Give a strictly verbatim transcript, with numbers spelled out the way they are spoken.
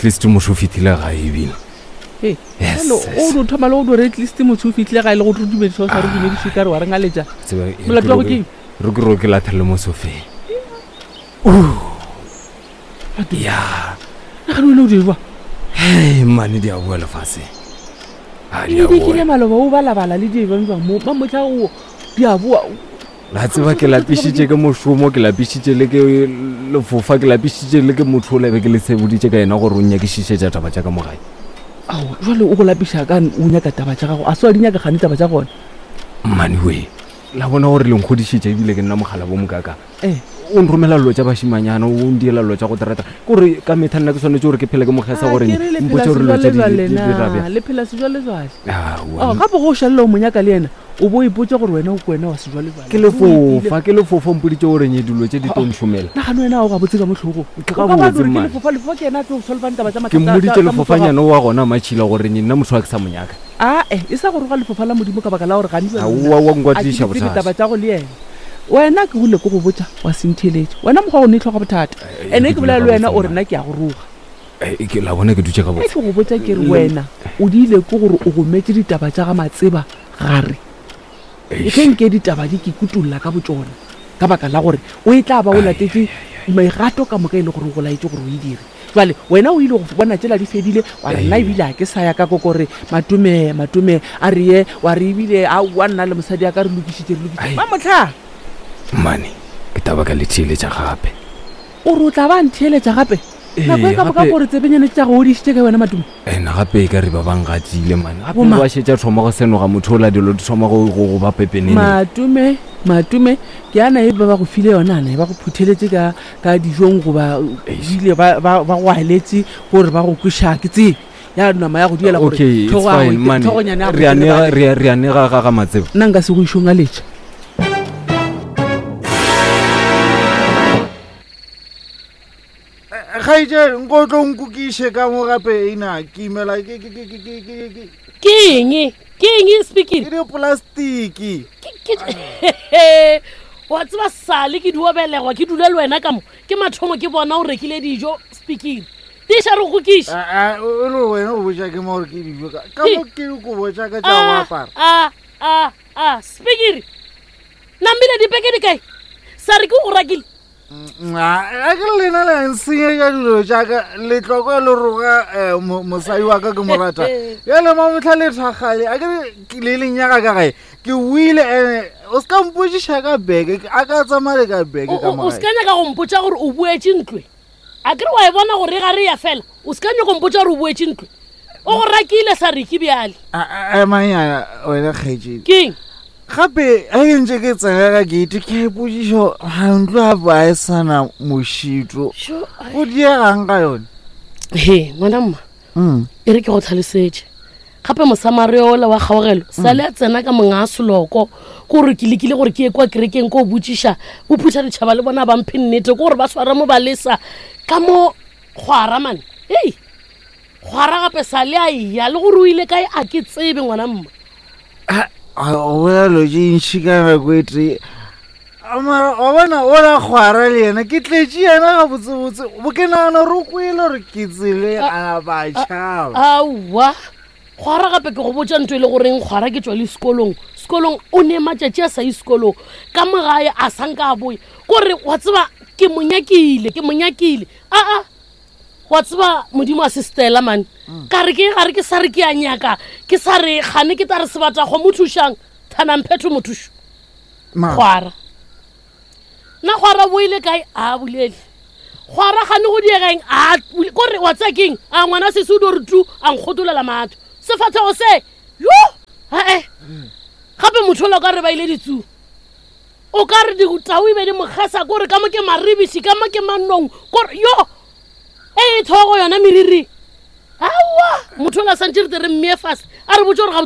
At least motho o fitlhile gae ebile. Ee, Yes, jalo yes. o no thoma le go no re at least motho o fitlhile gae le go re dumediša o sa re dumediše ka re wa re ngaletša. Tseba, e re Molato ke wa go ro- keng? re ke ro ke lathele mo sofeng. Ya. Nagane wena o di jwa. Hei, mane di a boa lefaseng. A di a E dikile boa. maloba o balabala le diebang mo mamotlha o di a boa. La tseba ke lapišitše ke mošomo, ke lapišitše le ke lefofa, ke lapišitše le ke motho o lebe ke le seboditše ka yena gore o nyakišišetša taba tša ka mo gae. Ao, jwale o go lapiša ka o nyaka taba tša gago a se wa di nyaka gane taba tša gona. Mmane we, la bona gore le nkgodišitše ebile ke nna mogala bo mokaka. Eh. O nromela dilo tša bašimanyana, o ndiela dilo tša go terata. Ke gore ka metlha nna ke swanetše gore ke phele ke mogesa Ah, gore ke re le phela mpotše gore dilo tše di- sejwalejwale di di na, rabja. le phela sejwalejwale. Aowa, Oh, gape go o šalela o mo nyaka le yena o bo o ipotša gore wena o ke wena wa sejwalejwale. ke lefofa, ke lefofa o mpoditše gore nye dilo tše di tlo ntšhomela. Nagane wena ga o gabotse ka mo tlhogong. Ke O ka ba gabotse, gore ke man. lefofa lefofa ke yena a tlo go solvang taba tša Ke mathata- mmoditše tša- tša motho wa lefofanyana wa gona matšhila gore nye nna motho wa ke sa mo nyaka. gago. Ae, e sa go roga lefofa la modimo ka baka la gore gane jwale Aowa, wa nna nkwatiša a ke di tsebe bothata. taba tša go le yena. Wena ke bole ke go botša wa se ntheeletše. Wena mokgwa wa go ne tlhoga bothata. Eh, Ene ke ke bolela dula le wena gabotse, o re man. nna ke a go roga. Eh, ke la bona ke dutše Ge gabotse. ke go botša ke re Le- wena o diile ke gore o gometse ditaba tša ga Matseba gare. Eish. Ge nke ditaba di ke kutulla ka botšona ka baka la gore o e tla ba o latetše megato ka moka e le gore o go laetše gore o e dire. Jwale wena o ile go bona tšela di fedile wa re nna ebile ga ke sa ya ka kokore matome matome a re ye wa re ebile aowa nna le mosadi ya ka re lokišitše re lokišitše. Ai. Ba motlha Mmane, ke taba ka le theeletša gape. o re o tla ba ntheeletša gape. Ee, Nako e ka moka gape- gore tsebenyane tša go odišitše ka wena matome. Ene gape e ka re ba bangatile mane. Gape Boma. ba šetša thoma go senoga motho ola dilo di thoma go go go ba pepeneneng. Matome matome ke ana e ba ba go file yona ana e ba go phutheletše ka ka dijong goba Eish. ebile ba ba ba go aletše gore ba go kweša ke tsebe ya nama ya go diela gore Okay, it's tlhogo ya fine, go- mane. tlhogonyana ya go Re a nega telebale. re a- re a nega ga ga Matseba. Nna nka se go išong a letša. Kgaetšedi nko o tlo nkokiše ka mo gape ena ke imela ke ke- ke- ke- ke- ke- ke- Ke eng? Ke eng speaking? ke diplastiki. Ke wa tseba sale ke dio belegwa ke dule le wena ka mo ke mathomo ke bona o rekile dijo speaking. Tiša re go kiša. Ah, ah, o le wena o botša ke mo gore ke dijo ka ka mo ke dikobo tša ka tša go Ah, apara. ah ah ah speaking. Namile dipeke di kae? Sa re ke o rakile. Mm, ah, a ke le lena le nsenyetša dilo tša ka letlokwa le roga eh, mo- mosadi wa ka ke mo rata. Bjale mamotlha le thakgale a ke re ke le lenyaga ka gae ke buile ene o se ka mpotšiša ka beke a ka tsamaya le ka beke O ka o- mo o gae. se ka nyaka go mpotša gore o boetše ntlwe. A ke re wa e bona gore ga re ya fela. O se ka nyaka go mpotša gore o boetše ntlwe. O go rakile sa re ke bjale. Ah, ah, emanyana wena kgaetšedi. Keng? Gape a ke ntse ke tsena ka gate ke a ipotšiša ga ntlo gape a e sana mošito Sho, ai. go diegang ka yone. He, ngwana mma. Mm. E re ke go tlhalosetše. Gape mosamare ola wa kgaogelo sale a tsena ka monga a seloko ke gore ke lekile gore ke ye kwa kerekeng ko o botšiša o phutha ditšhaba le bona ba mphe nnete ke gore ba swara mo balesa ka mo kgwara mane ei kgwara gape sale a eya le gore o ile kae a ke tsebe ngwana mma. Ah, o bolela dilo tše ntšhi ka nako e tee mara wa bona ola kgwara le yena ke tletše yena gabotsebotse bo ke nagana gore o kwele gore ke tsele a napa a tšhaba. Aowa kgwara gape ke go botša ntho e le goreng kgwara ke tswa le sekolong sekolong o ne matšatši a sa ye sekolong ka mo gae a sanka a boya kore wa tseba ke mo nyakile ke mo nyakile aa wa tseba modimo a se stela mane ka re ke gare ke sa re ke a nyaka ke sa re gane ke ta re sebata go mo thušang thanamphetho mothušo Ma- kgwara nna kgwara boile kae a bolele kgwara gane go diegeng a bule- kore wa tsaya keng a ngwana sese o dio re tu a nkgotolela matho sefatlhego se yo ae gape motho ola o ka re ba ile ditsu o ka re ditau e be di mogesa kore ka mo ke maribiši ka mo ke manong kore yo e e thogo yona meriri aowa motho ola santse re te re mmee fase a re botse gore ga